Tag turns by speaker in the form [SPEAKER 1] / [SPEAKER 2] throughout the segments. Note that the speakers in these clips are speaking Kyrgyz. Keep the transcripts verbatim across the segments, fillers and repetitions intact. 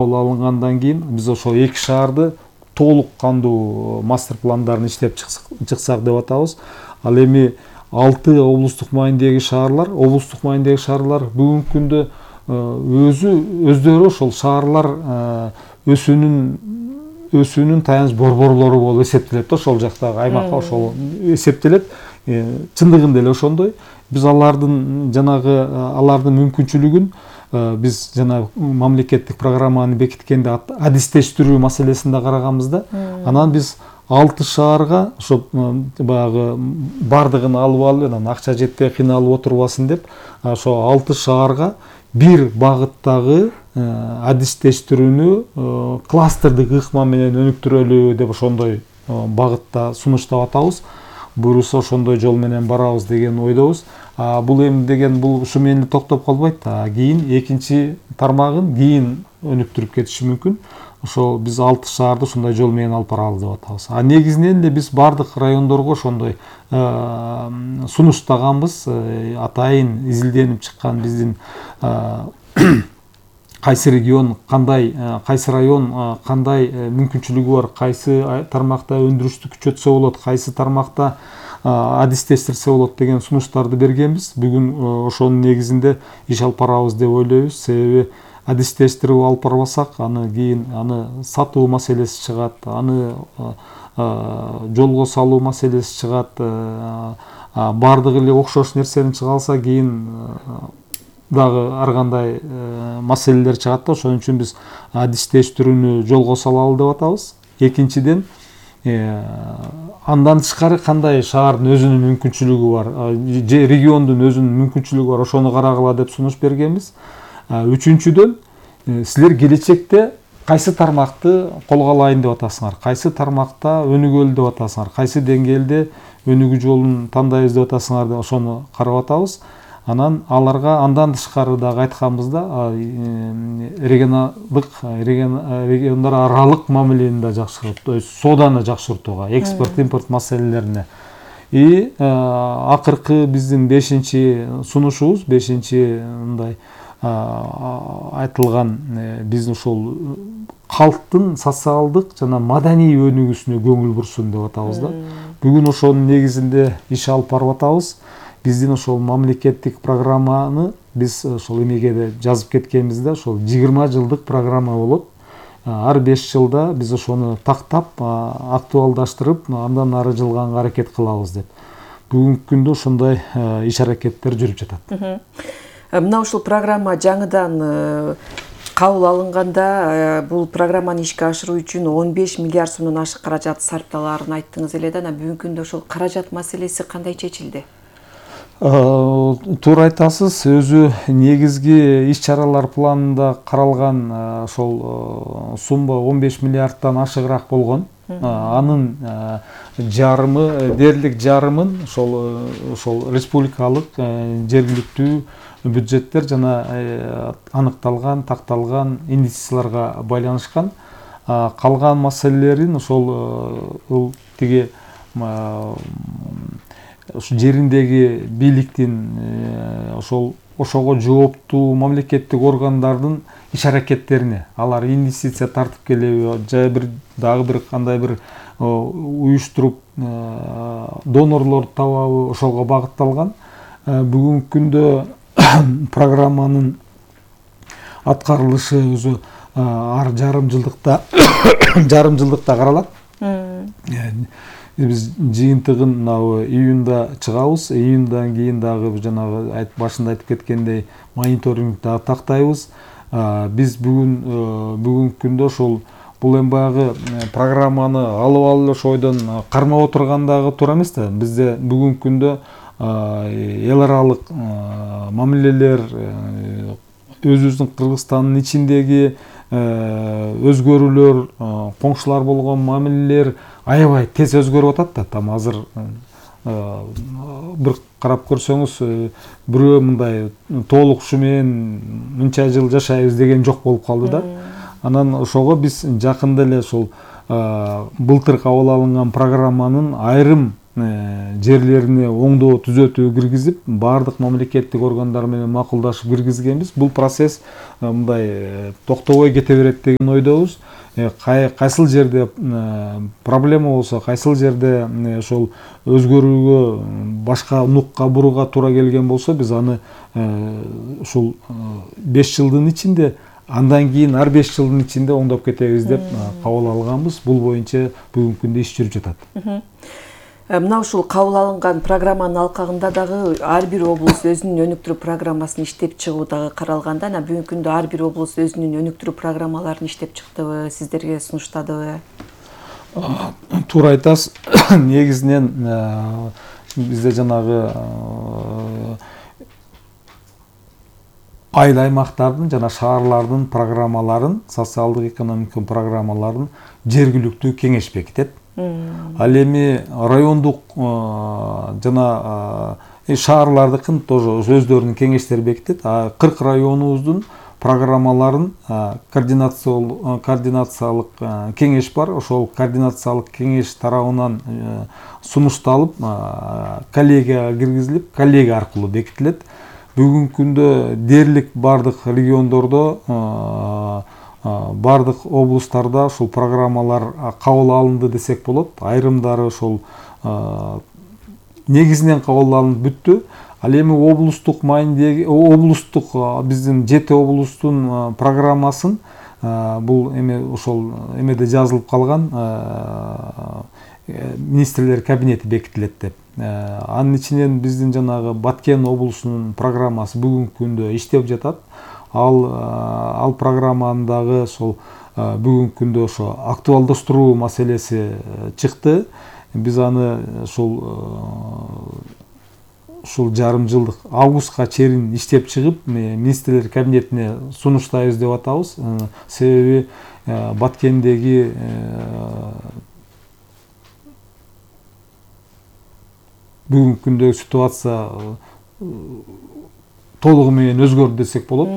[SPEAKER 1] алынгандан кийин биз ошо эки шаарды толук кандуу мастер пландарын иштеп чыксак деп атабыз. Ал эми алты облустук маанидеги шаарлар, облустук маанидеги шаарлар бүгүнкү күндө өзү өздөрү ошол шаарлар өсүүнүн өсүүнүн таяныч борборлору болуп эсептелет да, ошол жактагы аймакка ошол эсептелет. Чындыгында эле ошондой. Биз алардын жанагы алардын мүмкүнчүлүгүн биз жана мамлекеттик программаны бекиткенде адистештирүү маселесинде караганбыз да. Анан биз алты шаарга ошо баягы бардыгын алып алып, анан акча жетпей кыйналып отурбасын деп, ошо алты шаарга бир багыттагы адистештирүүнү кластердик ыкма менен өнүктүрөлү деп ошондой багытта сунуштап атабыз. Буюрса ошондой жол менен барабыз деген ойдобуз. Бул эми деген бул ушу менен токтоп калбайт да. Кийин экинчи тармагын кийин өнүктүрүп кетиши мүмкүн. Ошол биз алты шаарды ушундай жол менен алып барабыз деп атабыз. А негизинен эле биз бардык райондорго ошондой сунуштаганбыз. Атайын изилденип чыккан биздин кайсы регион кандай, кайсы район кандай мүмкүнчүлүгү бар, кайсы тармакта өндүрүштү күчөтсө болот, кайсы тармакта адистештирсе болот деген сунуштарды бергенбиз. Бүгүн ошонун негизинде иш алып барабыз деп ойлойбуз. Себеби адистештирип алып барбасак, аны кийин аны сатуу маселеси чыгат, аны жолго салуу маселеси чыгат. Бардыгы эле окшош нерсени чыга алса, кийин дагы ар кандай маселелер чыгат да. Ошон үчүн биз адистештирүүнү жолго салалы деп атабыз. Экинчиден, андан тышкары кандай шаардын өзүнүн мүмкүнчүлүгү бар, же региондун өзүнүн мүмкүнчүлүгү бар, ошону карагыла деп сунуш бергенбиз. Үчүнчүдөн, силер келечекте кайсы тармакты колго алайын деп атасыңар, кайсы тармакта өнүгөлү деп атасыңар, кайсы деңгээлде өнүгүү жолун тандайбыз деп атасыңар деп ошону карап атабыз. Анан аларга андан тышкары дагы айтканбызда регионалдык региондор аралык мамилени да жакшыртуу, то есть сооданы жакшыртууга, экспорт импорт маселелерине. И акыркы биздин бешинчи сунушубуз, бешинчи мындай айтылган биз ошол калктын социалдык жана маданий өнүгүүсүнө көңүл бурсун деп атабыз да. Бүгүн ошонун негизинде иш алып барып атабыз. Биздин ошол мамлекеттик программаны биз ошол эмеге жазып кеткенбиз да, ошол жыйырма жылдык программа болот. Ар беш жылда биз ошону тактап, актуалдаштырып, андан ары жылганга аракет кылабыз деп. Бүгүнкү күндө ошондой иш аракеттер жүрүп жатат.
[SPEAKER 2] Мына ушул программа жаңыдан кабыл алынганда бул программаны ишке ашыруу үчүн он беш миллиард сомдон ашык каражат сарпталаарын айттыңыз эле да. Бүгүнкү күндө ошол каражат маселеси кандай чечилди?
[SPEAKER 1] Туура айтасыз, өзү негизги иш-чаралар планында каралган ошол сумма он беш миллиардтан ашыгыраак болгон. Анын жарымы, дээрлик жарымын ошол ошол республикалык, жергиликтүү бюджеттер жана аныкталган, такталган инвестицияларга байланышкан. Калган маселелерин ошол тиги жериндеги бийликтин ошол ошого жооптуу мамлекеттик органдардын иш аракеттерине, алар инвестиция тартып келеби, же бир дагы бир кандай бир уюштуруп донорлор табабы, ошого багытталган. Бүгүнкү күндө программанын аткарылышы өзү ар жарым жылдыкта жарым жылдыкта каралат. Биз жыйынтыгын мына июнда чыгабыз. Июндан кийин дагы жанагы башында айтып кеткендей мониторинг дагы тактайбыз. Биз бүгүн бүгүнкү күндө ошол бул эми баягы программаны алып алып ошо ойдон кармап отургандагы туура эмес да. Бизде бүгүнкү күндө эл аралык мамилелер, өзүбүздүн Кыргызстандын ичиндеги өзгөрүүлөр, коңшулар болгон мамилелер аябай тез өзгөрүп атат да. Там азыр бир карап көрсөңүз, бирөө мындай толук ушу менен мынча жыл жашайбыз деген жок болуп калды да. Анан ошого биз жакында эле ошол былтыр кабыл алынган программанын айрым жерлерине оңдоо түзөтүү киргизип, баардык мамлекеттик органдар менен макулдашып киргизгенбиз. Бул процесс мындай токтобой кете берет деген ойдобуз. Кайсыл жерде проблема болсо, кайсыл жерде ошол өзгөрүүгө, башка нукка бурууга туура келген болсо, биз аны ушул беш жылдын ичинде, андан кийин ар беш жылдын ичинде оңдоп кетебиз деп кабыл алганбыз. Бул боюнча бүгүнкү күндө иш жүрүп жатат.
[SPEAKER 2] Мына ушул кабыл алынган программанын алкагында дагы ар бир облус өзүнүн өнүктүрүү программасын иштеп чыгуу дагы каралганда, анан бүгүнкү күндө ар бир облус өзүнүн өнүктүрүү программаларын иштеп чыктыбы, сиздерге сунуштадыбы?
[SPEAKER 1] Туура айтасыз. Негизинен бизде жанагы айыл аймактардын жана шаарлардын программаларын, социалдык экономикалык программаларын жергиликтүү кеңеш бекитет. Ал эми райондук жана шаарлардыкын тоже өздөрүнүн кеңештери бекитет. кырк районубуздун программаларын координациялык кеңеш бар. Ошол координациялык кеңеш тарабынан сунушталып, коллегияга киргизилип, коллегия аркылуу бекитилет. Бүгүнкү күндө дээрлик бардык региондордо, бардык облустарда ушул программалар кабыл алынды десек болот. Айрымдары ошол негизинен кабыл алынып бүттү. Ал эми облустук маанидеги, облустук биздин жети облустун программасын бул эми ошол эмеде жазылып калган, министрлер кабинети бекитилет деп. Анын ичинен биздин жанагы Баткен облусунун программасы бүгүнкү күндө иштеп жатат. Ал ал программанын дагы ошол бүгүнкү күндө ошо актуалдаштыруу маселеси чыкты. Биз аны ушул ушул жарым жылдык августка чейин иштеп чыгып, министрлер кабинетине сунуштайбыз деп атабыз. Себеби Баткендеги бүгүнкү күндөгү ситуация толугу менен өзгөрдү десек болот.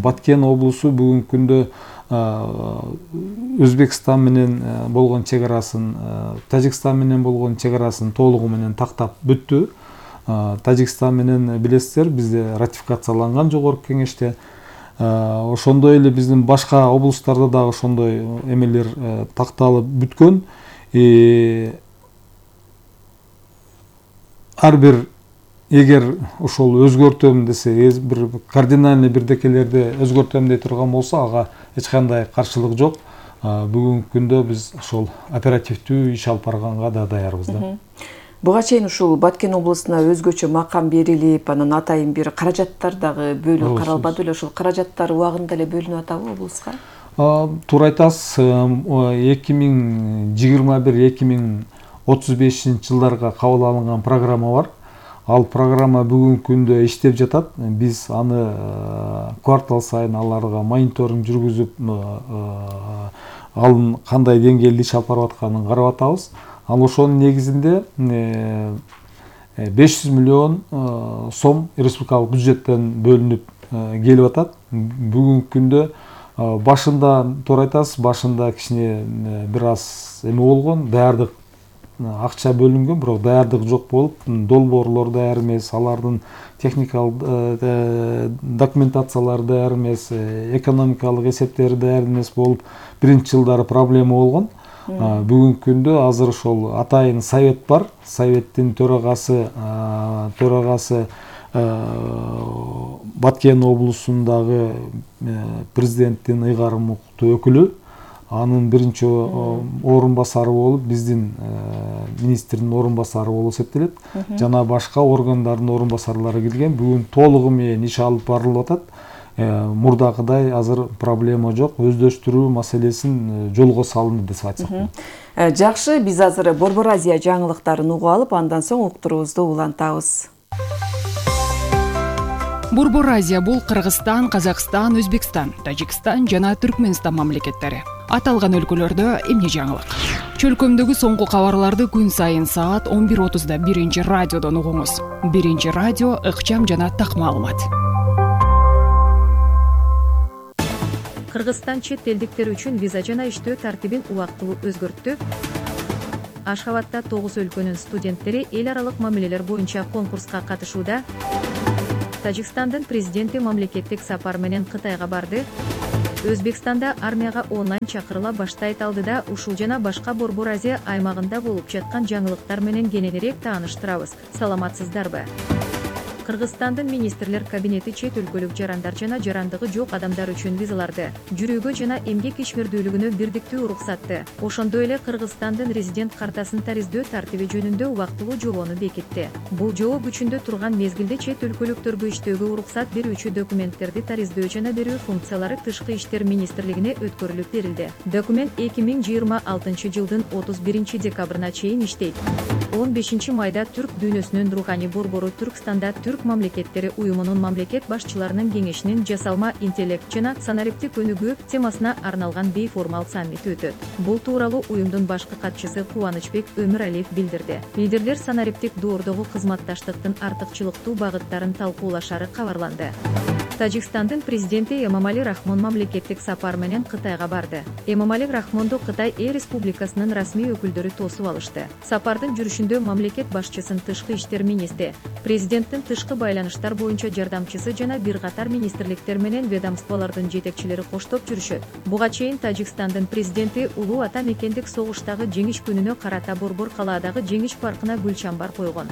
[SPEAKER 1] Баткен облусу бүгүнкү күндө Өзбекстан менен болгон чегарасын, Тажикстан менен болгон чегарасын толугу менен тактап бүттү. Тажикстан менен билесиздер, бизде ратификацияланган жогорку кеңеште. Ошондой эле биздин башка облустарда дагы ошондой эмелер такталып бүткөн. Ар бир эгер ошол өзгөртөм десе, бир кардинальный бирдекелерди өзгөртөм дей турган болсо, ага эч кандай каршылык жок. Бүгүнкү күндө биз ошол оперативдүү иш алып барганга да даярбыз да.
[SPEAKER 2] Буга чейин ушул Баткен облусуна өзгөчө макам берилип, анан атайын бир каражаттар дагы бөлүп каралбады беле? Ошол каражаттар убагында эле бөлүнүп атабы облуска?
[SPEAKER 1] Туура айтасыз. эки миң жыйырма бир эки миң отуз бешинчи жылдарга кабыл алынган программа бар. Ал программа бүгүнкү күндө иштеп жатат. Биз аны квартал сайын аларга мониторинг жүргүзүп, ал кандай деңгээлде иш алып барып атканын карап атабыз. Ал ошонун негизинде беш жүз миллион сом республикалык бюджеттен бөлүнүп келип атат. Бүгүнкү күндө башында, туура айтасыз, башында кичине бир аз эме болгон, даярдык акча бөлүнгөн, бирок даярдык жок болуп, долбоорлор даяр эмес, алардын техникалык документациялары даяр эмес, экономикалык эсептери даяр эмес болуп, биринчи жылдары проблема болгон. Бүгүнкү күндө азыр ошол атайын совет бар. Советтин төрагасы, төрагасы Баткен облусундагы президенттин ыйгарым укуктуу өкүлү. Анын биринчи орун басары болуп, биздин министрдин орун басары болуп эсептелет. Жана башка органдардын орун басарлары келген. Бүгүн толугу менен иш алып барылып атат. Мурдакыдай азыр проблема жок. Өздөштүрүү маселесин жолго салынды деп айтсак болот.
[SPEAKER 2] Жакшы, биз азыр Борбор Азия жаңылыктарын угуп алып, андан соң уктуруубузду улантабыз.
[SPEAKER 3] Борбор Азия бул Кыргызстан, Казакстан, Өзбекстан, Тажикстан жана Түркмөнстан мамлекеттери. Аталган өлкөлөрдө эмне жаңылык? Чөлкөмдөгү соңку кабарларды күн сайын саат он бир отузда биринчи радиодон угуңуз. Биринчи радио ыкчам жана так маалымат.
[SPEAKER 4] Кыргызстан чет элдиктер үчүн виза жана иштөө тартибин убактылуу өзгөрттү. Ашхабадда тогуз өлкөнүн студенттери эл аралык мамилелер боюнча конкурска катышууда. Тажикстандын президенти мамлекеттик сапар менен Кытайга барды. Өзбекстанда армияга онлайн чакырыла баштайт алдыда ушул жана башка Борбор Азия аймагында болуп жаткан жаңылыктар менен кененирээк тааныштырабыз. Саламатсыздарбы? Кыргызстандын министрлер кабинети чет өлкөлүк жарандар жана жарандыгы жок адамдар үчүн визаларды жүрүүгө жана эмгек ишмердүүлүгүнө бирдиктүү уруксатты. Ошондой эле Кыргызстандын резидент картасын тариздөө тартиби жөнүндө убактылуу жобону бекитти. Бул жобо күчүндө турган мезгилде чет өлкөлүктөргө иштөөгө уруксат берүүчү документтерди тариздөө жана берүү функциялары Тышкы иштер министрлигине өткөрүлүп берилди. Документ эки миң жыйырма алтынчы жылдын отуз биринчи декабрына чейин иштейт. он бешинчи майда Түрк дүйнөсүнүн руханий борбору Түркстанда Түрк мамлекеттери уюмунун мамлекет башчыларынын кеңешинин жасалма интеллект жана санариптик өнүгүү темасына арналган бейформал саммити өтөт. Бул тууралуу уюмдун башкы катчысы Кубанычбек Өмүралиев билдирди. Лидерлер санариптик доордогу кызматташтыктын артыкчылыктуу багыттарын талкуулашары кабарланды. Тажикстандын президенти Эмомали Рахмон мамлекеттик сапар менен Кытайга барды. Эмомали Рахмонду Кытай Эл Республикасынын расмий өкүлдөрү тосуп алышты. Сапардын жүрүшүндө мамлекет башчысын тышкы иштер министри, президенттин тышкы байланыштар боюнча жардамчысы жана бир катар министрликтер менен ведомстволордун жетекчилери коштоп жүрүшөт. Буга чейин Тажикстандын президенти улуу ата мекендик согуштагы жеңиш күнүнө карата Борбор калаадагы жеңиш паркына гүл чамбар койгон.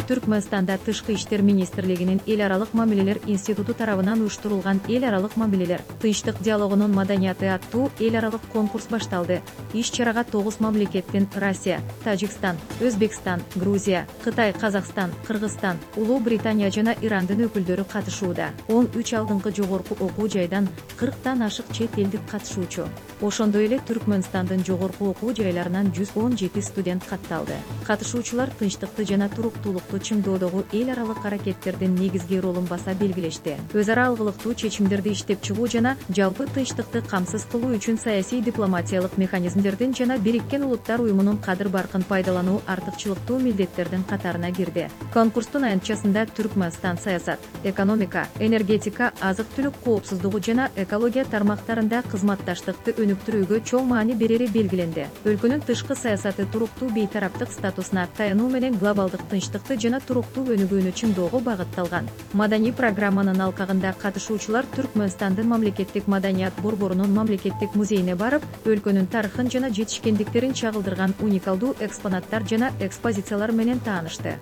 [SPEAKER 4] Түркмөнстанда Тышкы иштер министрлигинин эл аралык мамилелер институту тарабынан уюштурулган эл аралык мамилелер, тынчтык диалогунун маданияты аттуу эл аралык конкурс башталды. Иш-чарага тогуз мамлекеттин Россия, Тажикстан, Өзбекстан, Грузия, Кытай, Казакстан, Кыргызстан, Улуу Британия жана Ирандын өкүлдөрү катышууда. он үч алдыңкы жогорку окуу жайдан кырктан ашык чет элдик катышуучу. Ошондой эле Түркмөнстандын жогорку окуу жайларынан жүз он жети студент катталды. Катышуучулар тынчтыкты жана туруктуулукту чыңдоодогу эл аралык аракеттердин негизги ролун баса белгилешти. Өз ара алгылыктуу чечимдерди иштеп чыгуу жана жалпы тынчтыкты камсыз кылуу үчүн саясий дипломатиялык механизмдердин жана Бириккен Улуттар уюмунун кадыр баркын пайдалануу артыкчылыктуу милдеттердин катарына кирди. Конкурстун аянтчасында Түркмөнстан саясат, экономика, энергетика, азык-түлүк коопсуздугу жана экология тармактарында кызматташтыкты өнүктүрүүгө чоң маани берери белгиленди. Өлкөнүн тышкы саясаты туруктуу бейтараптык статусуна таянуу менен глобалдык тынчтыкты жана туруктуу өнүгүүнү чыңдоого багытталган. Маданий программанын алкагында катышуучулар Түркмөнстандын мамлекеттик маданият борборунун мамлекеттик музейине барып, өлкөнүн тарыхын жана жетишкендиктерин чагылдырган уникалдуу экспонаттар жана экспозициялар менен таанышты.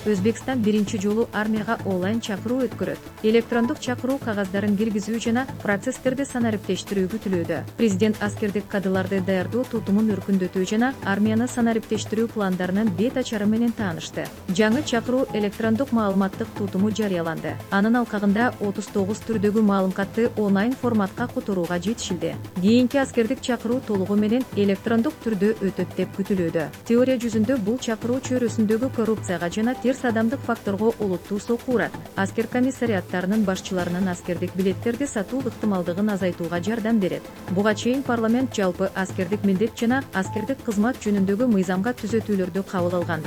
[SPEAKER 4] Өзбекстан биринчи жолу армияга онлайн чакыруу өткөрөт. Электрондук чакыруу кагаздарын киргизүү жана процесстерди санариптештирүү күтүлүүдө. Президент аскердик кадрларды даярдоо тутумун өркүндөтүү жана армияны санариптештирүү пландарынын бет ачары менен таанышты. Жаңы чакыруу электрондук маалыматтык тутуму жарыяланды. Анын алкагында отуз тогуз түрдөгү маалыматты онлайн форматка которууга жетишилди. Кийинки аскердик чакыруу толугу менен электрондук түрдө өтөт деп күтүлүүдө. Теория жүзүндө бул чакыруу чөйрөсүндөгү коррупцияга жана терс адамдык факторго олуттуу сокку урат. Аскер комиссариаттарынын башчыларынын аскердик билеттерди сатуу ыктымалдыгын азайтууга жардам берет. Буга чейин парламент жалпы аскердик милдет жана аскердик кызмат жөнүндөгү мыйзамга түзөтүүлөрдү кабыл алган.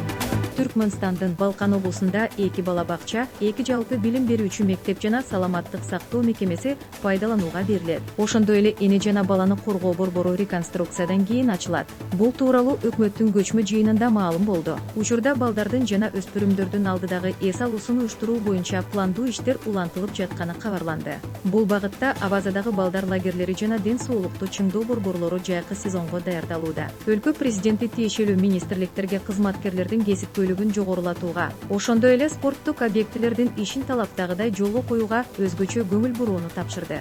[SPEAKER 4] Түркмөнстандын Балкан облусунда эки бала бакча, эки жалпы билим берүүчү мектеп жана саламаттык сактоо мекемеси пайдаланууга берилет. Ошондой эле эне жана баланы коргоо борбору реконструкциядан кийин ачылат. Бул тууралуу өкмөттүн көчмө жыйынында маалым болду. Учурда балдардын жана өспүрүмдөрдүн алдыдагы эс алуусун уюштуруу боюнча пландуу иштер улантылып жатканы кабарланды. Бул багытта Абазадагы балдар лагерлери жана ден соолукту чыңдоо борборлору жайкы сезонго даярдалууда. Өлкө президенти тиешелүү министрликтерге кызматкерлердин кесиптүүлүгүн жогорулатууга, ошондой эле спорттук объектилердин ишин талаптагыдай жолго коюуга өзгөчө көңүл бурууну тапшырды.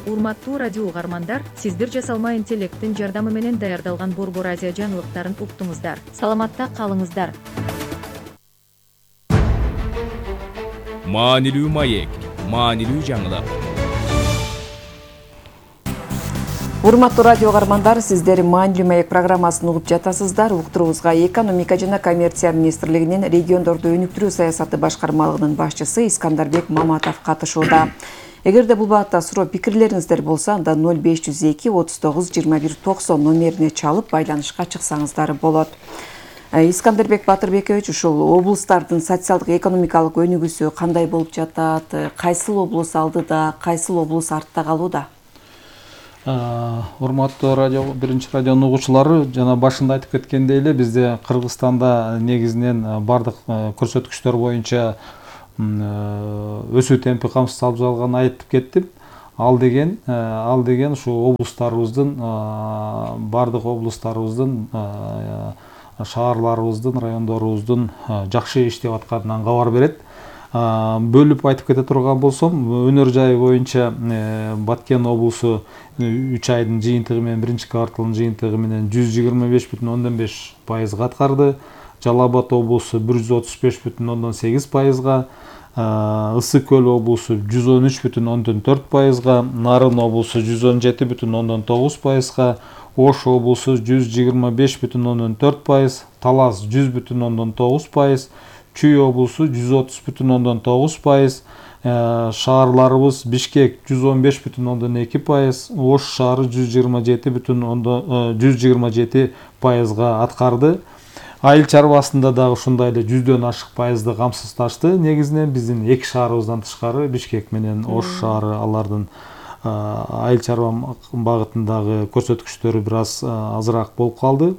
[SPEAKER 4] Урматтуу радио угармандар, сиздер жасалма интеллекттин жардамы менен даярдалган Борбор Азия жаңылыктарын уктуңуздар. Саламатта калыңыздар.
[SPEAKER 5] Маанилүү маек, маанилүү жаңылык.
[SPEAKER 2] Урматтуу радио угармандар, сиздер Маанилүү маек программасын угуп жатасыздар. Уктуруубузга экономика жана коммерция министрлигинин региондорду өнүктүрүү саясаты башкармалыгынын башчысы Искандарбек Маматов катышууда. Эгерде бул багытта суроо пикирлериңиздер болсо, анда ноль беш жүз эки отуз тогуз жыйырма бир токсон номерине чалып байланышка чыксаңыздар болот. Искандарбек Батырбекович, ушул облустардын социалдык экономикалык өнүгүүсү кандай болуп жатат? Кайсыл облус алдыда, кайсыл облус артта калууда?
[SPEAKER 1] Урматтуу радио биринчи радионун угуучулары, жана башында айтып кеткендей эле бизде Кыргызстанда негизинен бардык көрсөткүчтөр боюнча өсүү темпи камсыз алып жатканын айтып кеттим. Ал деген ал деген ушу облустарыбыздын бардык облустарыбыздын шаарларыбыздын райондорубуздун жакшы иштеп атканынан кабар берет. Бөлүп айтып кете турган болсом, өнөр жайы боюнча Баткен облусу үч айдын жыйынтыгы менен биринчи кварталдын жыйынтыгы менен жүз жыйырма беш бүтүн ондон беш пайызга аткарды. Жалал Абад облусу бир жүз отуз беш бүтүн ондон сегиз пайызга, Ысык көл облусу жүз он үч бүтүн ондон төрт пайызга, Нарын облусу жүз он жети бүтүн ондон тогуз пайызга, Ош облусу жүз жыйырма беш бүтүн ондон төрт пайыз, Талас жүз бүтүн ондон тогуз пайыз, Чүй облусу жүз отуз бүтүн ондон тогуз пайыз, шаарларыбыз Бишкек жүз он беш бүтүн ондон эки пайыз, Ош шаары жүз жыйырма жети бүтүн ондон жүз жыйырма жети пайызга аткарды. Айыл чарбасында дагы ушундай эле жүздөн ашык пайызды камсыздашты. Негизинен биздин эки шаарыбыздан тышкары Бишкек менен Ош шаары алардын айыл чарба багытындагы көрсөткүчтөрү бир аз азыраак болуп калды.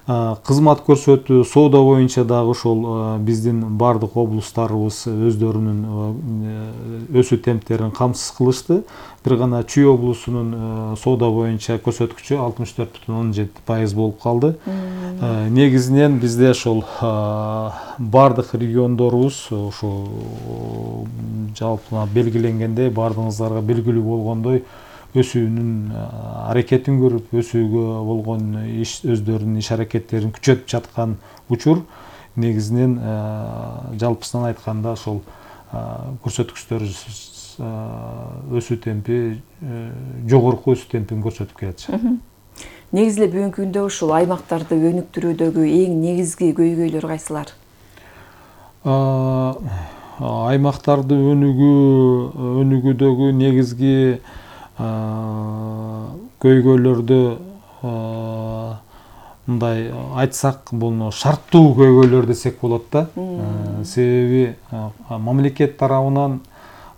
[SPEAKER 1] Кызмат көрсөтүү, соода боюнча дагы ошол биздин бардык облустарыбыз өздөрүнүн өсүү темптерин камсыз кылышты. Бир гана Чүй облусунун соода боюнча көрсөткүчү алтымыш төрт бүтүн ондон жети пайыз болуп калды. Негизинен бизде ошол бардык региондорубуз ошо жалпы белгиленгендей, бардыгыңыздарга белгилүү болгондой өсүүнүн аракетин көрүп, өсүүгө болгон иш өздөрүнүн иш аракеттерин күчөтүп жаткан учур. Негизинен жалпысынан айтканда ошол көрсөткүчтөр өсүү темпи жогорку өсүү темпин көрсөтүп келет.
[SPEAKER 2] Негизи эле бүгүнкү күндө ушул аймактарды өнүктүрүүдөгү эң негизги көйгөйлөр кайсылар?
[SPEAKER 1] Аймактарды өнүгүү өнүгүүдөгү негизги көйгөйлөрдү мындай айтсак, бул шарттуу көйгөйлөр десек болот да. Себеби мамлекет тарабынан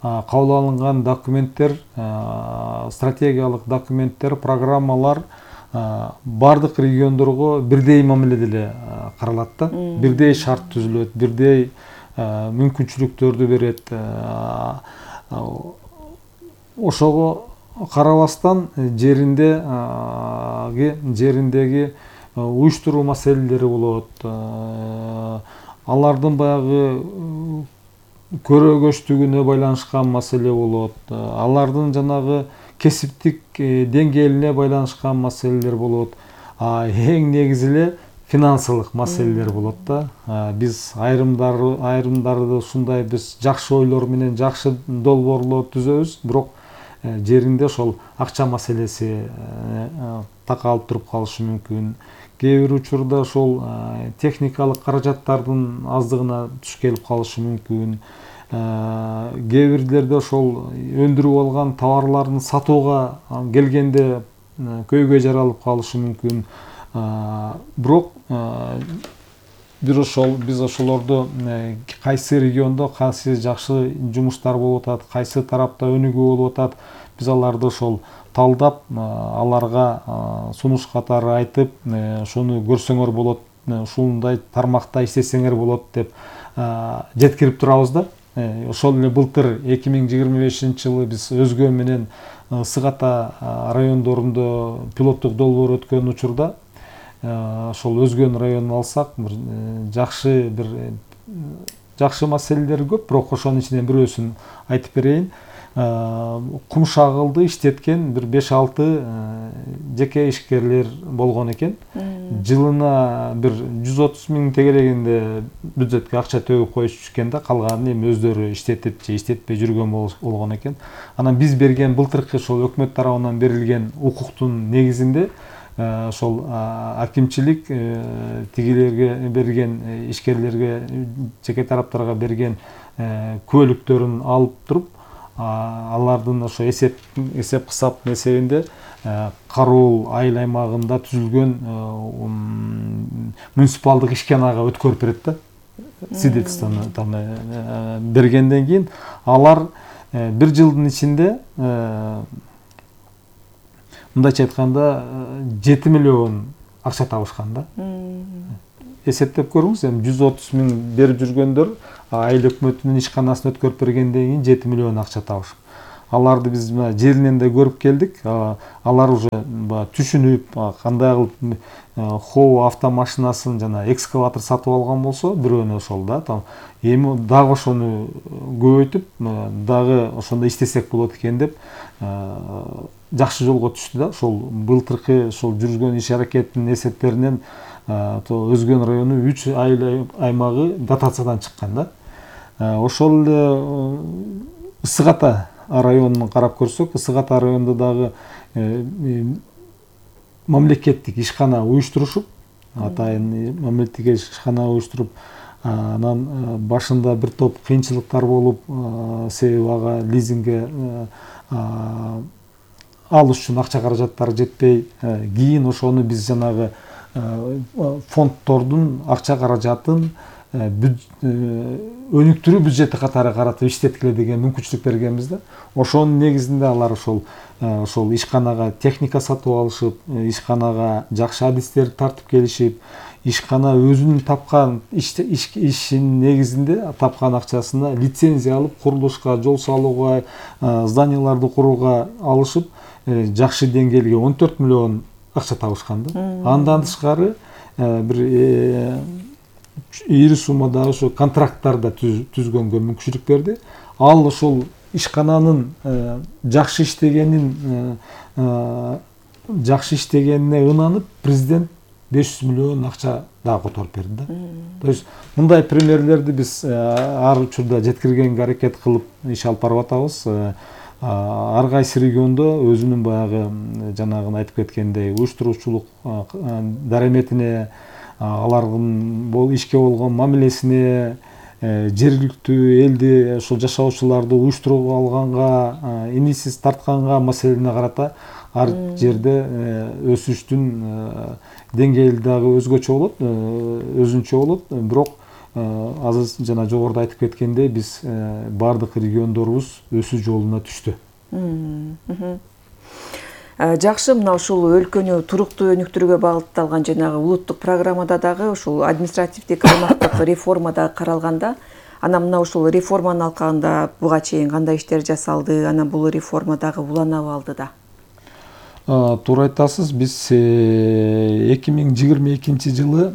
[SPEAKER 1] кабыл алынган документтер, стратегиялык документтер, программалар бардык региондорго бирдей мамиледе эле каралат да. Бирдей шарт түзүлөт, бирдей мүмкүнчүлүктөрдү берет. Ошого карабастан жеринде жериндеги уюштуруу маселелери болот. Алардын баягы көрөгөчтүгүнө байланышкан маселе болот. Алардын жанагы кесиптик деңгээлине байланышкан маселелер болот. Эң негизи эле финансылык маселелер болот да. Биз айрымдары айрымдарды ушундай биз жакшы ойлор менен жакшы долбоорлор түзөбүз, бирок жеринде ошол акча маселеси такалып туруп калышы мүмкүн. Кээ бир учурда ошол техникалык каражаттардын аздыгына туш келип калышы мүмкүн. Кээ бирлерде ошол өндүрүп алган товарларын сатууга келгенде көйгөй жаралып калышы мүмкүн. Бирок бир ошол биз ошолорду кайсы региондо кайсы жакшы жумуштар болуп атат, кайсы тарапта өнүгүү болуп атат, биз аларды ошол талдап, аларга сунуш катары айтып, ошону көрсөңөр болот, ушундай тармакта иштесеңер болот деп жеткирип турабыз да. Ошол эле былтыр эки миң жыйырма бешинчи жылы биз Өзгө менен Ысык Ата райондорунда пилоттук долбоор өткөн учурда ошол Өзгөн районун алсак, бир жакшы бир жакшы маселелер көп, бирок ошонун ичинен бирөөсүн айтып берейин. Кум шагылды иштеткен бир беш алты жеке ишкерлер болгон экен. Жылына бир жүз отуз миң тегерегинде бюджетке акча төгүп коюшчу экен да, калганын эми өздөрү иштетип же иштетпей жүргөн болгон экен. Анан биз берген былтыркы ошол өкмөт тарабынан берилген укуктун негизинде ошол акимчилик тигилерге берген, ишкерлерге, жеке тараптарга берген күбөлүктөрүн алып туруп, алардын ошо эсеп эсеп кысап эсебинде Кароол айыл аймагында түзүлгөн муниципалдык ишканага өткөрүп берет да. Свидетельствону бергенден кийин алар бир жылдын ичинде мындайча айтканда жети миллион акча табышкан да. Эсептеп көрүңүз, эми жүз отуз миң берип жүргөндөр айыл өкмөтүнүн ишканасын өткөрүп бергенден кийин жети миллион акча табышып. Аларды биз жеринен да көрүп келдик. Алар уже түшүнүп, кандай кылып хоо автомашинасын жана экскаватор сатып алган болсо, бирөөнө ошол да, эми дагы ошону көбөйтүп, дагы ошондо иштесек болот экен деп жакшы жолго түштү да. Ошол былтыркы ошол жүргөн иш аракетинин эсептеринен Өзгөн району үч айыл аймагы дотациядан чыккан да. Ошол эле Ысык Ата районун карап көрсөк, Ысык Ата районунда дагы мамлекеттик ишкана уюштурушуп, атайын мамлекеттик ишкана уюштуруп, анан башында бир топ кыйынчылыктар болуп, себеби ага лизингге алыш үчүн акча каражаттары жетпей, кийин ошону биз жанагы фонддордун акча каражатын өнүктүрүү бюджети катары каратып иштеткиле деген мүмкүнчүлүк бергенбиз да. Ошонун негизинде алар ошол ошол ишканага техника сатып алышып, ишканага жакшы адистерди тартып келишип, ишкана өзүнүн тапкан ишинин негизинде тапкан акчасына лицензия алып, курулушка, жол салууга, зданияларды курууга алышып, жакшы деңгээлге он төрт миллион акча табышкан да. Андан тышкары бир ири суммадагы ошо контракттарда түзгөнгө мүмкүнчүлүк берди. Ал ошол ишкананын жакшы иштегенин жакшы иштегенине ынанып, президент беш жүз миллион акча дагы которуп берди да. То есть мындай примерлерди биз ар учурда жеткиргенге аракет кылып иш алып барып атабыз. Ар кайсы региондо өзүнүн баягы жанагын айтып кеткендей уюштуруучулук дараметине, алардын бул ишке болгон мамилесине, жергиликтүү элди, ошол жашоочуларды уюштуруп алганга, инисиз тартканга маселене карата ар жерде өсүштүн деңгээли дагы өзгөчө болот, өзүнчө болот. Бирок азыр жана жогоруда айтып кеткендей, биз бардык региондорубуз өсүү жолуна түштү.
[SPEAKER 2] Жакшы, мына ушул өлкөнү туруктуу өнүктүрүүгө багытталган жанагы улуттук программада дагы ушул административдик аймактык реформа да каралганда, анан мына ушул реформанын алкагында буга чейин кандай иштер жасалды, анан бул реформа дагы уланабы алды да?
[SPEAKER 1] Туура айтасыз, биз эки миң жыйырма экинчи жылы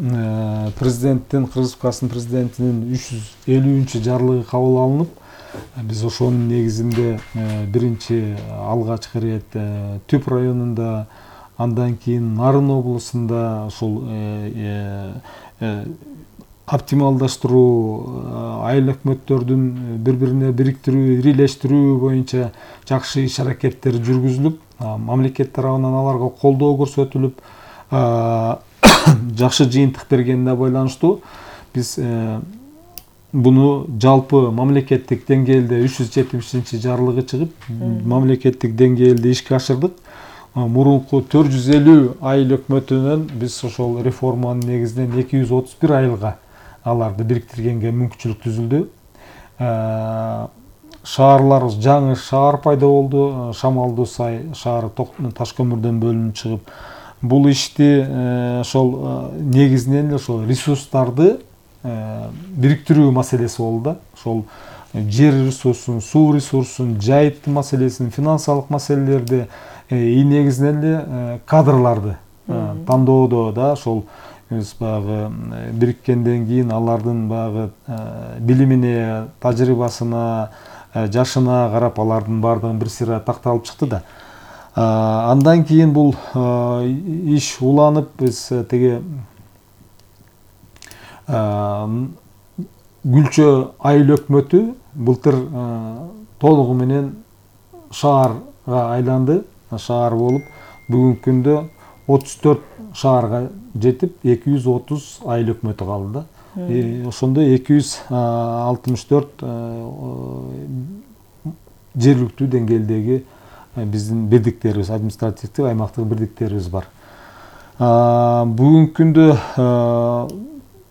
[SPEAKER 1] президенттин, Кыргыз Республикасынын президентинин үч жүз элүүнчү жарлыгы кабыл алынып, биз ошонун негизинде биринчи алгачкы ирет Түп районунда, андан кийин Нарын облусунда ошол оптималдаштыруу, айыл өкмөттөрдүн бири-бирине бириктирүү, ирилештирүү боюнча жакшы иш аракеттер жүргүзүлүп, мамлекет тарабынан аларга колдоо көрсөтүлүп, жакшы жыйынтык бергенине байланыштуу биз буну жалпы мамлекеттик деңгээлде үч жүз жетимишинчи жарлыгы чыгып, мамлекеттик деңгээлде ишке ашырдык. Мурунку төрт жүз элүү айыл өкмөтүнөн биз ошол реформанын негизинен эки жүз отуз бир айылга аларды бириктиргенге мүмкүнчүлүк түзүлдү. Шаарлар, жаңы шаар пайда болду, Шамалдуу Сай шаары таш көмүрдөн бөлүнүп чыгып, бул ишти ошол негизинен эле ошол ресурстарды бириктирүү маселеси болду да. Ошол жер ресурсун, суу ресурсун, жайыттын маселесин, финансылык маселелерди, и негизинен эле кадрларды тандоодо да ошол биз баягы бириккенден кийин алардын баягы билимине, тажрыйбасына, жашына карап алардын баардыгын бир сыйра такталып чыкты да. Андан кийин бул иш уланып, биз теге Гүлчө айыл өкмөтү былтыр толугу менен шаарга айланды, шаар болуп, бүгүнкү күндө отуз төрт шаарга жетип, эки жүз отуз айыл өкмөтү калды да. Ошондо эки жүз алтымыш төрт жергиликтүү деңгээлдеги биздин бирдиктерибиз, административдик аймактык бирдиктерибиз бар. Бүгүнкү күндө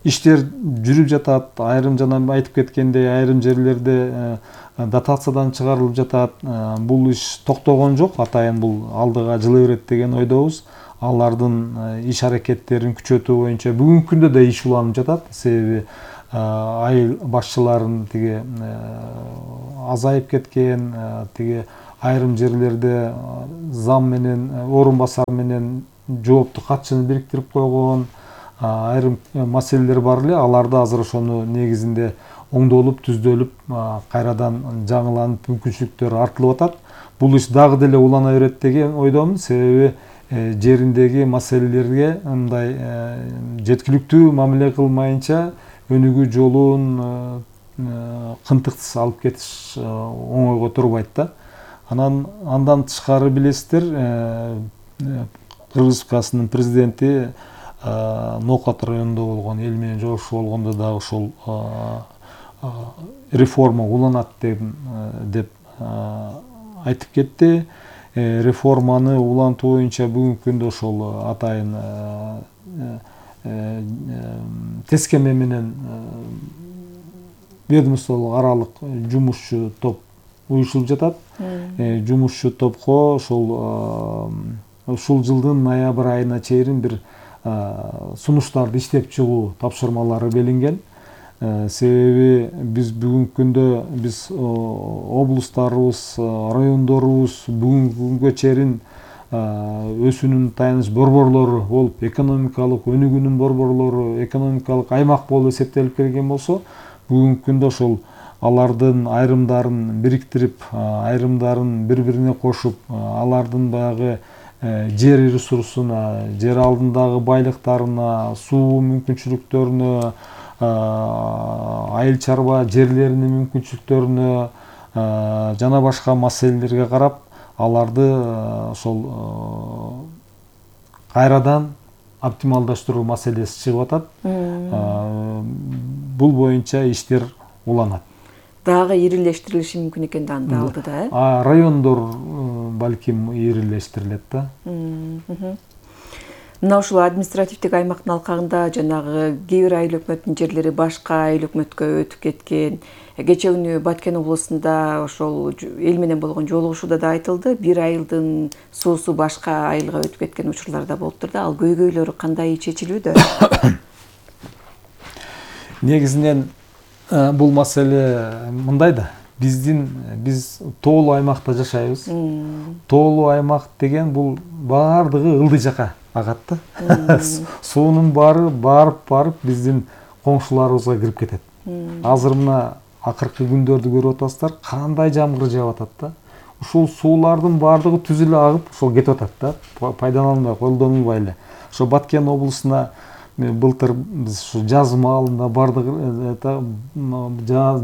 [SPEAKER 1] иштер жүрүп жатат. Айрым жана айтып кеткендей, айрым жерлерде дотациядан чыгарылып жатат. Бул иш токтогон жок, атайын бул алдыга жылы берет деген ойдобуз. Алардын иш аракеттерин күчөтүү боюнча бүгүнкү күндө да иш уланып жатат. Себеби айыл башчыларын тиги азайып кеткен, тиги айрым жерлерде зам менен орун басар менен жоопту катчыны бириктирип койгон айрым маселелер бар эле. Аларды азыр ошону негизинде оңдолуп, түздөлүп, кайрадан жаңыланып, мүмкүнчүлүктөр артылып атат. Бул иш дагы деле улана берет деген ойдомун. Себеби жериндеги маселелерге мындай жеткиликтүү мамиле кылмайынча өнүгүү жолун кынтыксыз алып кетиш оңойго турбайт да. Анан андан тышкары билесиздер, Кыргыз Республикасынын президенти Ноокат районунда болгон эл менен жолугушуу болгондо дагы ошол реформа уланат деп айтып кетти. Реформаны улантуу боюнча бүгүнкү күндө ошол атайын тескеме менен ведомстволук аралык жумушчу топ уюшулуп жатат. Жумушчу топко ошол ушул жылдын ноябрь айына чейин бир сунуштарды иштеп чыгуу тапшырмалары белинген. Себеби биз бүгүнкү күндө биз облустарыбыз, райондорубуз бүгүнкү күнгө чейин өсүүнүн таяныч борборлору болуп, экономикалык өнүгүүнүн борборлору, экономикалык аймак болуп эсептелип келген болсо, бүгүнкү күндө ошол алардын айрымдарын бириктирип, айрымдарын бири-бирине кошуп, алардын баягы жер ресурсуна, жер алдындагы байлыктарына, суу мүмкүнчүлүктөрүнө, айыл чарба жерлеринин мүмкүнчүлүктөрүнө жана башка маселелерге карап, аларды ошол кайрадан оптималдаштыруу маселеси чыгып атат. Бул боюнча иштер уланат.
[SPEAKER 2] Дагы ирилештирилиши мүмкүн экен да анда алдыда, э?
[SPEAKER 1] Райондор балким ирилештирилет да.
[SPEAKER 2] Мына ушул административдик аймактын алкагында жанагы кээ бир айыл өкмөттүн жерлери башка айыл өкмөткө өтүп кеткен. Кечээ күнү Баткен облусунда ошол эл менен болгон жолугушууда да айтылды, бир айылдын суусу башка айылга өтүп кеткен учурлар да болуптур да. Ал көйгөйлөрү кандай чечилүүдө?
[SPEAKER 1] Негизинен бул маселе мындай да. Биздин биз тоолуу аймакта жашайбыз. Тоолуу аймак деген бул баардыгы ылдый жака агат да. Суунун баары барып-барып биздин коңшуларыбызга кирип кетет. Азыр мына акыркы күндөрдү көрүп атасыздар, кандай жамгыр жаап атат да. Ушул суулардын баардыгы түз эле агып, ошол кетип атат да. Пайдаланылбай, колдонулбай эле. Ошо Баткен облусуна былтыр биз ушу жаз маалында бардык,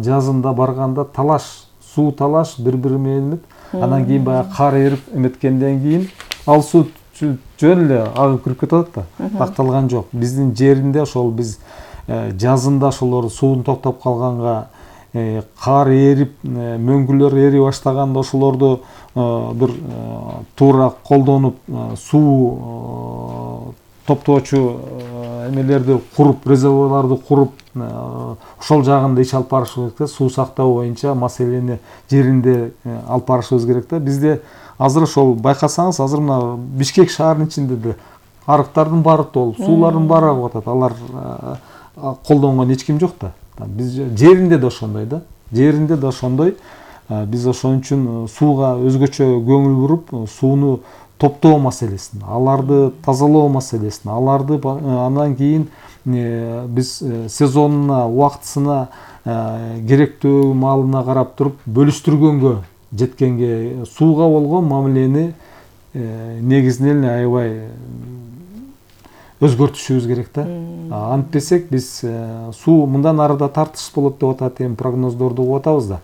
[SPEAKER 1] жазында барганда талаш, суу талаш бири-бири менен, анан кийин баягы кар эрип эметкенден кийин ал суу жөн эле агып кирип кетип атат да. Такталган жок. Биздин жеринде ошол биз жазында ошолор суун токтоп калганга, кар эрип, мөңгүлөр эри баштаганда ошолорду бир туура колдонуп, суу топтоочу эмелерди куруп, резервуарларды куруп, ошол жагында иш алып барышыбыз керек да. Суу сактоо боюнча маселени жеринде алып барышыбыз керек да. Бизде азыр ошол байкасаңыз, азыр мына Бишкек шаарынын ичинде да арыктардын баары толуп, суулардын баары агып атат. Алар колдонгон эч ким жок да. Биз жеринде да ошондой да. Жеринде да ошондой. Биз ошон үчүн сууга өзгөчө көңүл буруп, сууну топтоо маселесин, аларды тазалоо маселесин, аларды андан кийин биз сезонуна, убактысына, керектүү маалына карап туруп бөлүштүргөнгө жеткенге, сууга болгон мамилени негизинен аябай өзгөртүшүбүз керек да. Антпесек биз суу мындан ары да тартыш болот деп атат, эми прогноздорду угуп атабыз да.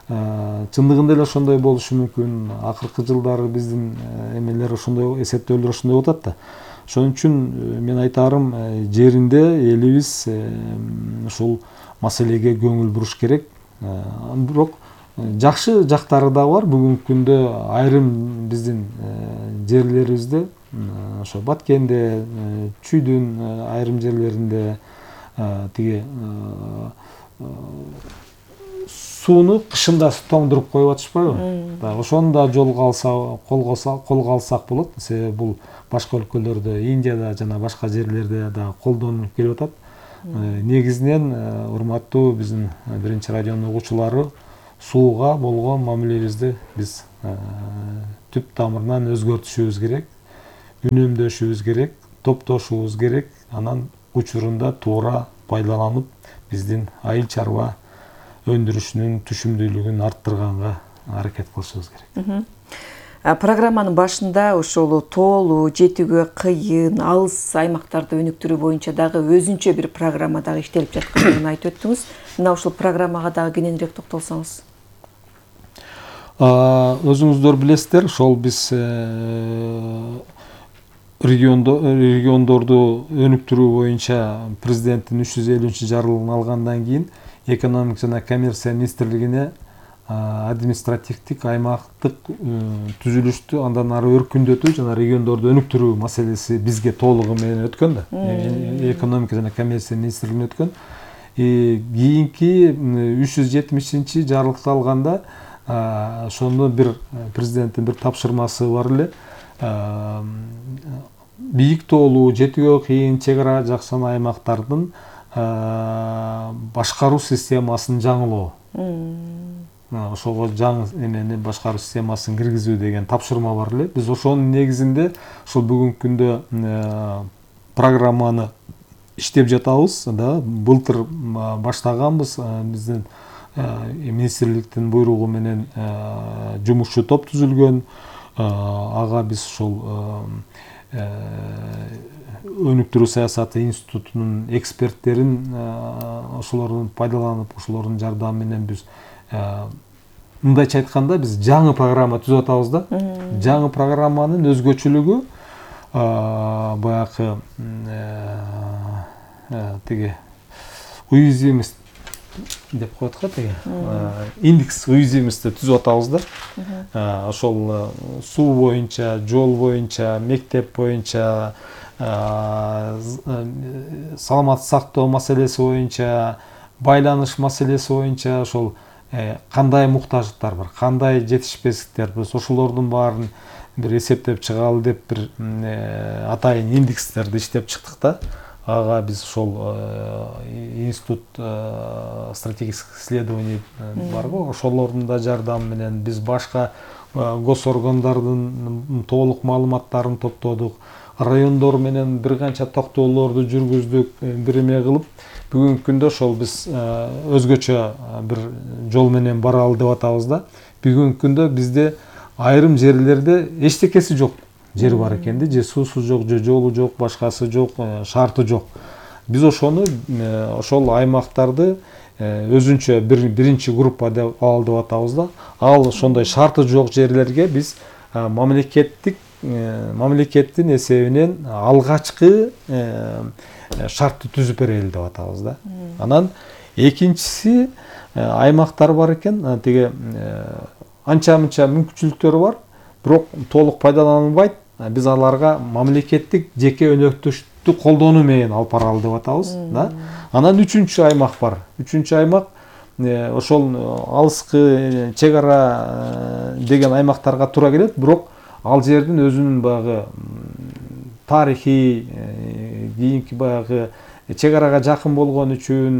[SPEAKER 1] Чындыгында эле ошондой болушу мүмкүн. Акыркы жылдары биздин эмелер ошондой, эсептөөлөр ошондой болуп атат да. Ошон үчүн мен айтарым, жеринде элибиз ушул маселеге көңүл буруш керек. Бирок жакшы жактары да бар. Бүгүнкү күндө айрым биздин жерлерибизде, ошо Баткенде, Чүйдүн айрым жерлеринде тиги сууну кышында тоңдуруп коюп атышпайбы? Ошону да жолго алса, колго колго алсак болот. Себеби бул башка өлкөлөрдө, Индияда жана башка жерлерде да колдонулуп келип атат. Негизинен урматтуу биздин биринчи радионун угуучулары, сууга болгон мамилебизди биз түп тамырынан өзгөртүшүбүз керек, үнөмдөшүбүз керек, топтошубуз керек. Анан учурунда туура пайдаланып, биздин айыл чарба өндүрүшүнүн түшүмдүүлүгүн арттырганга аракет кылышыбыз керек.
[SPEAKER 2] Программанын башында ошол тоолуу, жетүүгө кыйын, алыс аймактарды өнүктүрүү боюнча дагы өзүнчө бир программа дагы иштелип жаткандыгын айтып өттүңүз. Мына ушул программага дагы кененирээк токтолсоңуз.
[SPEAKER 1] Өзүңүздөр билесиздер, ошол биз региондорду өнүктүрүү боюнча президенттин үч жүз элүүнчү жарлыгын алгандан кийин экономика жана коммерция министрлигине административдик аймактык түзүлүштү андан ары өркүндөтүү жана региондорду өнүктүрүү маселеси бизге толугу менен өткөн да. Экономика жана коммерция министрлигине өткөн. Кийинки үч жүз жетимишинчи жарлыкты алганда ошондо бир президенттин бир тапшырмасы бар эле. Бийик тоолуу, жетүүгө кыйын, чек ара жаксан аймактардын башкаруу системасын жаңылоо. Ошого жаңы эмени башкаруу системасын киргизүү деген тапшырма бар эле. Биз ошонун негизинде ошол бүгүнкү күндө программаны иштеп жатабыз да. Былтыр баштаганбыз. Биздин министрликтин буйругу менен жумушчу топ түзүлгөн. Ага биз ошол өнүктүрүү саясаты институтунун эксперттерин ошолордун пайдаланып, ошолордун жардамы менен биз мындайча айтканда биз жаңы программа түзүп атабыз да. Жаңы программанын өзгөчөлүгү баягы тиги уязвимость деп коет го тиги индекс уязвимости түзүп атабыз да. Ошол суу боюнча, жол боюнча, мектеп боюнча, саламат сактоо маселеси боюнча, байланыш маселеси боюнча ошол кандай муктаждыктар бар, кандай жетишпестиктер, биз ошолордун баарын бир эсептеп чыгалы деп бир атайын индекстерди иштеп чыктык да. Ага биз ошол институт стратегических исследований барго, ошолордун да жардамы менен биз башка госоргандардын толук маалыматтарын топтодук, райондор менен бир канча токтоолорду жүргүздүк, бир эме кылып, бүгүнкү күндө ошол биз өзгөчө бир жол менен баралы деп атабыз да. Бүгүнкү күндө бизде айрым жерлерде эчтекеси жок жер бар экен да, же суусу жок, же жолу жок, башкасы жок, шарты жок. Биз ошону ошол аймактарды өзүнчө бир биринчи группа деп ал деп атабыз да. Ал ошондой шарты жок жерлерге биз мамлекеттик мамлекеттин эсебинен алгачкы шартты түзүп берели деп атабыз да. Анан экинчиси аймактар бар экен, тиги анча-мынча мүмкүнчүлүктөрү бар, бирок толук пайдаланылбайт. Биз аларга мамлекеттик жеке өнөктөштүктү колдонуу менен алып баралы деп атабыз да. Анан үчүнчү аймак бар. Үчүнчү аймак ошол алыскы чек ара деген аймактарга туура келет, бирок ал жердин өзүнүн баягы тарыхый, кийинки баягы чек арага жакын болгон үчүн,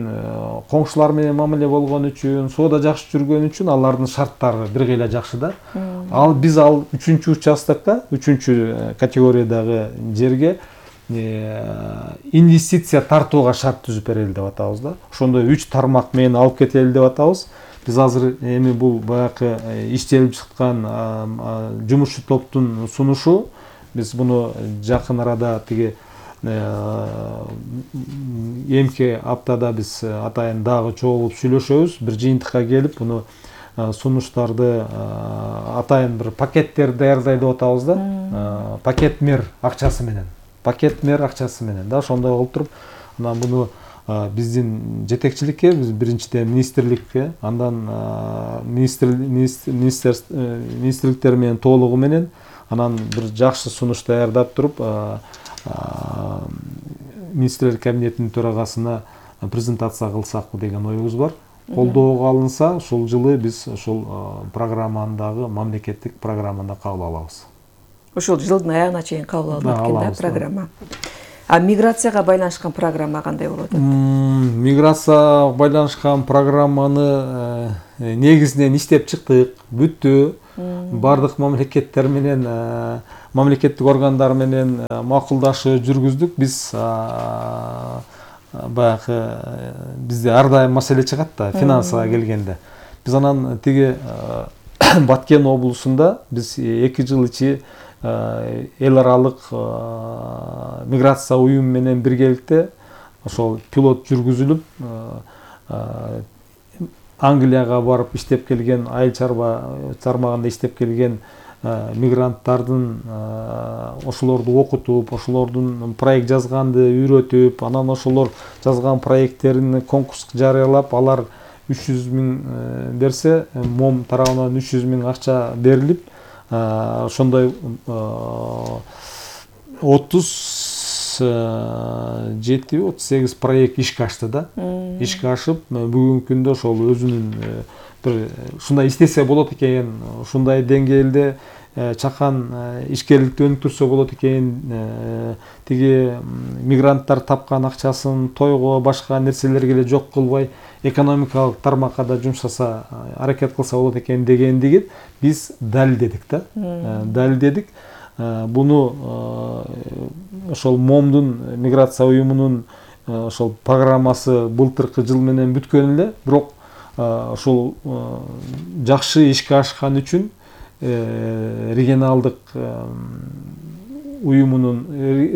[SPEAKER 1] коңшулар менен мамиле болгон үчүн, соода жакшы жүргөн үчүн алардын шарттары бир кыйла жакшы да. Ал биз ал үчүнчү участокко, үчүнчү категориядагы жерге инвестиция тартууга шарт түзүп берели деп атабыз да. Ошондой үч тармак менен алып кетели деп атабыз. Биз азыр эми бул баягы иштелип чыккан жумушчу топтун сунушу, биз муну жакын арада тиги эмки аптада биз атайын дагы чогулуп сүйлөшөбүз, бир жыйынтыкка келип, муну сунуштарды атайын бир пакеттер даярдай деп атабыз да. Пакет мер акчасы менен. Пакет мер акчасы менен да, ошондой кылып туруп, анан буну биздин жетекчиликке, биз биринчиден министрликке, андан министрликтер менен толугу менен, анан бир жакшы сунуш даярдап туруп, министрлер кабинетинин төрагасына презентация кылсак деген оюбуз бар. колдоого алынса, ушул жылы биз ушул программандагы мамлекеттик программаны кабыл алабыз.
[SPEAKER 2] Ушул жылдын аягына чейин кабыл алынат экен да программа. А миграцияга байланышкан программа кандай болот?
[SPEAKER 1] Миграцияга байланышкан программаны негизинен иштеп чыктык, бүттү. Бардык мамлекеттер менен, мамлекеттик органдар менен макулдашуу жүргүздүк. Биз баягы бизде ар дайым маселе чыгат да, финансага келгенде. Биз анан тиги Баткен облусунда биз эки жыл ичи эл аралык миграция уюму менен биргеликте ошол пилот жүргүзүлүп, Англияга барып иштеп келген, айыл чарба тармагында иштеп келген мигранттардын ошолорду окутуп, ошолордун проект жазганды үйрөтүп, анан ошолор жазган проекттерин конкурска жарыялап, алар үч жүз миң берсе, мом тарабынан үч жүз миң акча берилип, ошондой отуз жети отуз сегиз проект ишке ашты да. Ишке ашып, бүгүнкү күндө ошол өзүнүн бир ушундай иштесе болот экен, ушундай деңгээлде чакан ишкерликти өнүктүрсө болот экен, тиги мигранттар тапкан акчасын тойго, башка нерселерге эле жок кылбай, экономикалык тармакка да жумшаса, аракет кылса болот экен дегендиги биз далилдедик да. Далилдедик. Буну ошол момдун миграция уюмунун ошол программасы былтыркы жыл менен бүткөн эле, бирок ошол жакшы ишке ашкан үчүн регионалдык уюмунун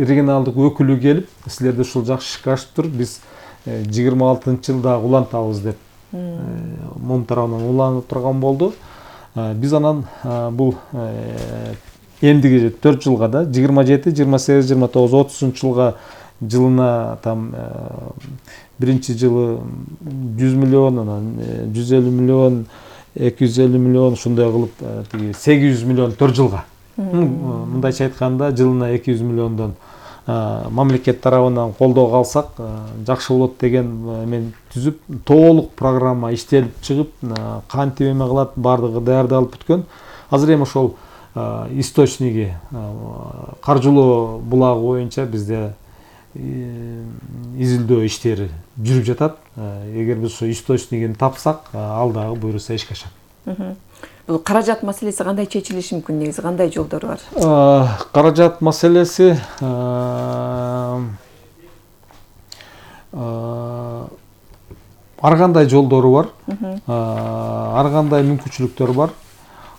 [SPEAKER 1] регионалдык өкүлү келип, силерде ушул жакшы ишке ашыптыр, биз жыйырма алтынчы жылда улантабыз деп мом тарабынан уланып турган болду. Биз анан бул эмдиги төрт жылга да, жыйырма жети, жыйырма сегиз, жыйырма тогуз, отузунчу жылга жылына там биринчи жылы жүз миллион, анан жүз элүү миллион, эки жүз элүү миллион, ушундай кылып тиги сегиз жүз миллион төрт жылга. Мындайча айтканда, жылына эки жүз миллиондон мамлекет тарабынан колдоо алсак жакшы болот деген мен түзүп, толук программа иштелип чыгып, кантип эме кылат, бардыгы даярдалып бүткөн. Азыр эми ошол источниги, каржылоо булагы боюнча бизде изилдөө иштери жүрүп жатат. Эгер биз ошо источнигин тапсак, ал дагы буюрса ишке ашат.
[SPEAKER 2] Бул каражат маселеси кандай чечилиши мүмкүн, негизи кандай жолдору бар?
[SPEAKER 1] Каражат маселеси ар кандай жолдору бар, ар кандай мүмкүнчүлүктөр бар.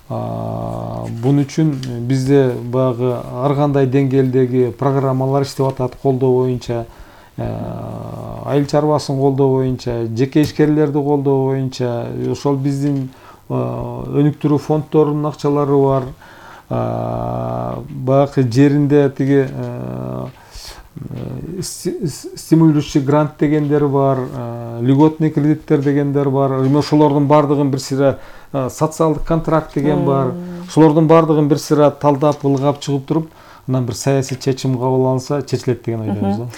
[SPEAKER 1] Бун үчүн бизде баягы ар кандай деңгээлдеги программалар иштеп атат, колдоо боюнча, айыл чарбасын колдоо боюнча, жеке ишкерлерди колдоо боюнча, ошол биздин өнүктүрүү фонддорунун акчалары бар. Баягы жеринде тиги стимулирующий грант дегендер бар, льготный кредиттер дегендер бар. Ошолордун бардыгын бир сыйра социалдык контракт деген бар. Ошолордун бардыгын бир сыйра талдап, ылгап чыгып туруп, анан бир саясий чечим кабыл алынса, чечилет деген ойдобуз да.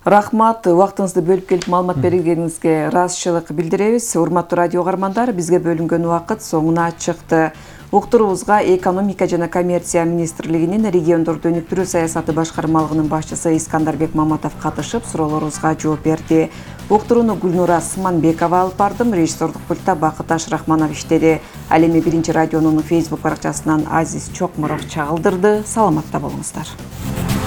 [SPEAKER 2] Рахмат, убактыңызды бөлүп келип маалымат бергениңизге ыраазычылык билдиребиз. Урматтуу радио угармандар, бизге бөлүнгөн убакыт соңуна чыкты. Уктуруубузга экономика жана коммерция министрлигинин региондорду өнүктүрүү саясаты башкармалыгынын башчысы Искандарбек Маматов катышып, суроолорубузга жооп берди. Уктурууну Гүлнура Сыманбекова алып бардым, режиссердук пультта Бакыт Ашрахманов иштеди. Ал эми биринчи радионун Facebook баракчасынан Азиз Чокмуров чагылдырды. Саламатта болуңуздар.